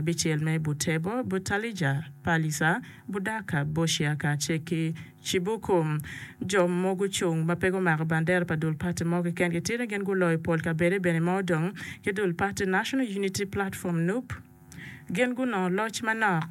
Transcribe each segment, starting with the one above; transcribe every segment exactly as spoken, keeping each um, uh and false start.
Abicel me Butebo, Butalija, Palisa, Budaka, Busia kacel ki Cibuku. Jo mogo gucung ma pe gumako bandera pa dul pati mo keken gitye ni gin guloyo pol kabede bene ma odong ki dul pati National Unity Platform, NUP, gin gunongo loc manok.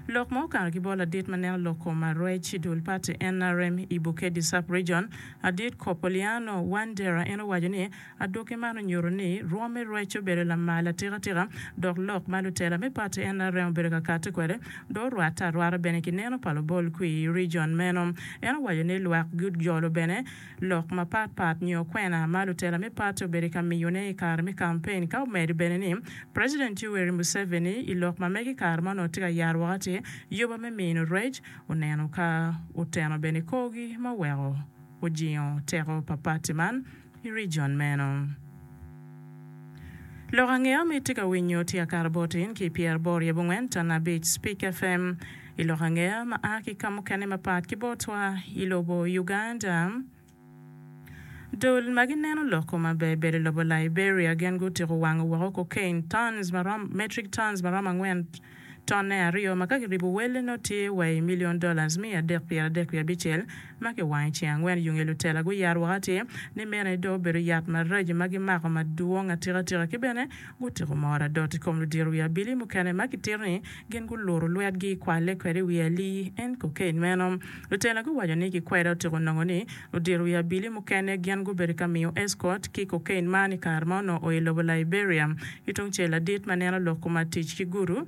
Lok ma okato ki bot ladit ma neno lok kom arwec i dul pati N R M i Bukedi Sub-Region, Adit Kopoliano Wandera, en owaco ni adwogi man onyuto ni rwom me rwec obedo lamal atikatika dok lok ma lutela me pati N R M obedo ka kati kwede dong orwatte arwata bene ki neno pa lubol kwi i region meno. En owaco ni lwak gujolo bene lok mapat pat nyo kwena ma lutela me pati obedo ka miyone i kare me kampen, ka omedo bene ni President Yoweri Museveni i lok ma mege i kare ma onongo tye ka yaro woko atir yoba me mino rwec oneno ka oteno bene korgi ma oweko ojingo teko pa pati man i region meno. Lok angeya ma itye ka winyo tye akato bot in ki pyeraboro wiye abongwen ton abic Speak F M. I lok angeya ma a ki ka mukene mapat ki botwa i lobo Uganda, dul ma gineno lok maber bedo i lobo Liberia gin gutiko wango woko cocaine tons marom metric tons maromo angwen tonne aryo ma ka kiribo welle nongo tye wa i million dollars miya adek pyera adek wiye abicel ma kiwango i ceng angwen yunge lutela guyaro woko atir ni meno dong obedo yat maraco ma gimako madwong atikatika ki bene gutiko moro adot i kom ludito wi abili mukene ma kitito ni gin guluto lwetgi kwalle kwede i wi alii en cocaine meno. Lutela guwaco ni kikweda otiko nongo ni ludito wi abili mukene gin gubedo ka miyo escort ki cocaine man i kare ma onongo o i lobo Liberia. Ki tungcel, ladit ma neno lok kom tic ki gudu,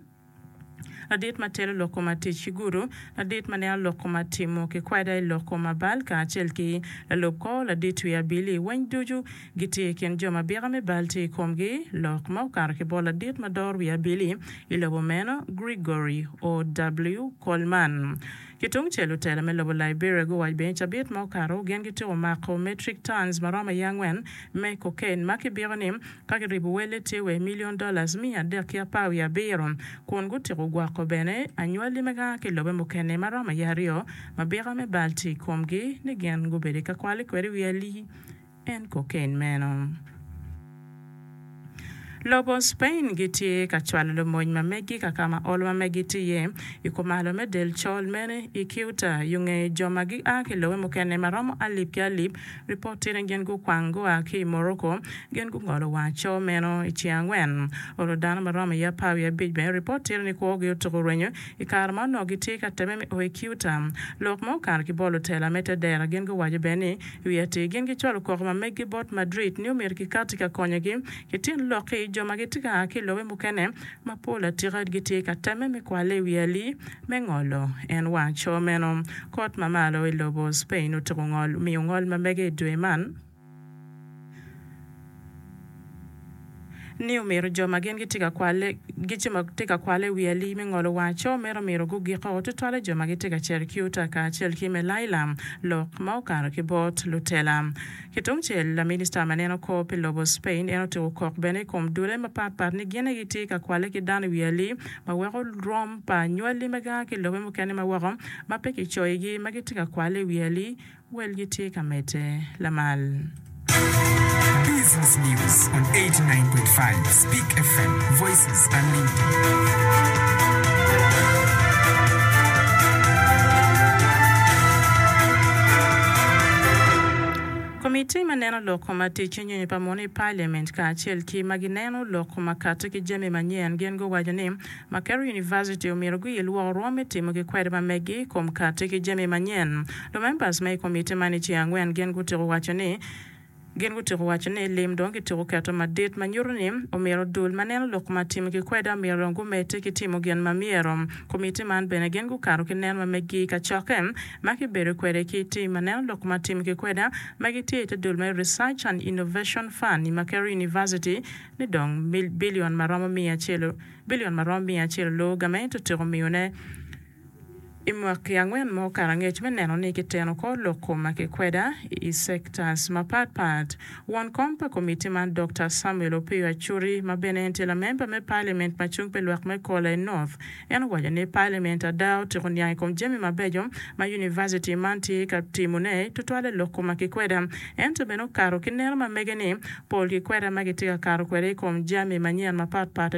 ladit ma telo lok kom tic ki gudu, ladit ma neno lok kom timo ki kweda i lok kom abal kacel ki lalub kor ladit wi abili weng ducu gitye i kin jo ma byeka me bal tye i komgi. Lok ma okato ki bot ladit ma doro wi abili i lobo meno, Gregory O W Coleman. Ki tungcel, lutela me lobo Liberia guwaco bene cabit ma okato gin gitiko mako metric tons maromo iye angwen me cocaine ma kibyeko ni ka kiribo welle tye wa i million dollars miya adek ki apar wiye abiro, kun gutiko gwoko bene anywali ma gaa ki lobe mukene maromo iye aryo ma byeka me bal tye i komgi ni gin gubedo ka kwale kwede wi alii en cocaine meno. Lobo Spain gitye ka cwalo lumony ma megi ka ka ma olo ma megi tye iye i kumalo me del col mene i Ceuta yunge jo ma gia ki lobe mukene ma romo alip ki alip. Ripot tye ni gin gukwang gua ki i Morocco, gin gungolo wang co meno i ceng angwen. Olo dano ma romo iye apar wiye abic bene ripot tye ni kwogi otuko rwenyo i kare ma onongo gitye ka temme me o i Ceuta. Lok ma okato ki bot lutela me te dero gin guwaco bene ni i wi atir gin gicwalo koko ma megi bot Madrid ni omyero kikati ka konyogi ki tyen lokki jo ma gitye ka a ki i lobe mukene mapol atika gitye ka temme me kwale i wi alii me ngolo en wang co meno. Kot ma malo i lobo Spain otuko ngol miyo ngol ma mege i dwe man ni omyero jo ma gin gitye ka kwale gitye ka kwale i wi alii me ngolo wang co meno omyero gugiko, tutwalle jo ma gitye ka cito Ceuta kacel ki Melilla. Lok ma okato ki bot lutela. Ki tungcel, laminista ma neno kor pi lobo Spain en otiko kok bene i kom dule mapatpat ni gin gitye ka kwale ki dano i wi alii ma weko rom pa anywali ma gaa ki lobe mukene ma woko ma pe kicoyogi ma gitye ka kwale i wi alii welgi tye ka medde lamal. Business News on eighty-nine point five Speak F M, Voices Unlimited. Komiti ma neno lok ma tic nyonyo pa muno i Parliament kacel ki ma gineno lok ma kati ki jami manyen gin guwaco ni Makerere University omyero guyil woko rwom me timo ki kwede ma megi kom kati ki jami manyen. Lumembers ma i komiti man i ceng angwen gin gutiko waco ni gin gutiko waco ni lim dong gitiko keto madit ma nyuto ni omyero dul ma neno lok ma timo ki kweda omyero dong gumedde ki timo gin ma myero. Komiti man bene gin gukato ki neno ma megi kacokke ma kibedo kwede ki tim ma neno lok ma timo ki kweda ma gitye i te dul me Research and Innovation Fund i Makerere University ni dong bilion ma romo miya acel bilion ma romo miya acel olo gamente otyeko miyone i mwaki angwen ma okato angec me neno ni kiteno kor lok ma kikweda i sectors mapatpat. Won kom pa komiti man, Dr Samuel Opiyo Achuri, ma bene en tye lamemba me Parliament ma cung pi lwak me Kola i North, en owaco ni Parliament ada otyeko niang i kom jami mabeco ma university man tye ka timone, tutwalle lok ma kikweda, ento bene okato ki neno ma mege ni pol kikweda ma gitye ka kato kwede i kom jami manyen mapatpat.